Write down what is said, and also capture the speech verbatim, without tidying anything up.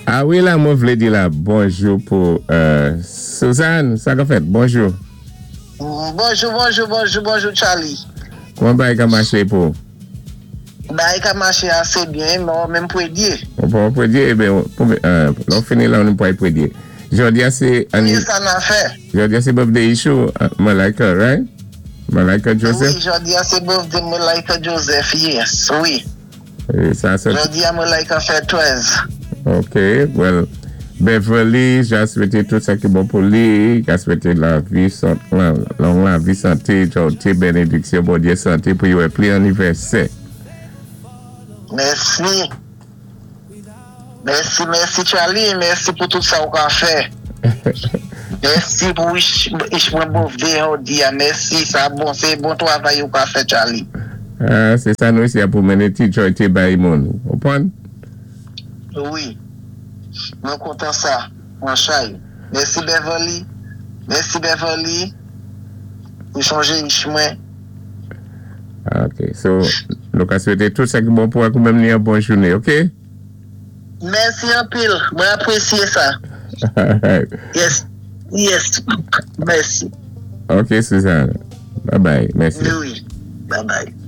Ah wi, la, mwen vlé di la bonjou pou euh, Suzanne, sa ka fèt? Bonjou. Bonjou, bonjou, bonjou, bonjou, Charlie. Kouman bagay ka maché pou? Bagay ka maché asé byen, mwen menm pwédyé. On pa pwédyé, eh ben, pou, euh, lò fini la, nou pway pwédyé. Jòdi a sé Wi, sa na fè. Jòdi a sé birthday issue, uh, Malika, right? Malika Joseph? Wi, jòdi a sé birthday Malika Joseph, yes, wi. É sa, sa, Jòdi a Malika fè trèz. Ok, well, Beverly, ja swété tout sa ki bon pou li, ja swété lavi, san, long lavi, santé, jòté, bénédiksyon, Bondyé, santé pou yo pli anivèsè. Mèsi. Mèsi, mèsi Charlie, mèsi pou tout sa ou ka fè. Mèsi pou wish, wish mwen birthday jòdi a, mèsi, sa bon, sé bon twavay ou ka fè, Charlie. Ah, sé sa nou isi a pou mennen ti jòyté bay moun. Konpwann? Wi. Mwen kontan sa, mwen chay. Mèsi Beverly. Mèsi Beverly. Pou chonjé wish mwen. Ah, ok, so, nou ka swété tout sa ki bon pou ak ou menm ni yon bon jouné, ok? Mèsi anpil. Mwen apwésyé sa. Alright. Yes. Yes. Mèsi. Ok, Suzanne. Bye bye. Mèsi. Wi. Bye bye.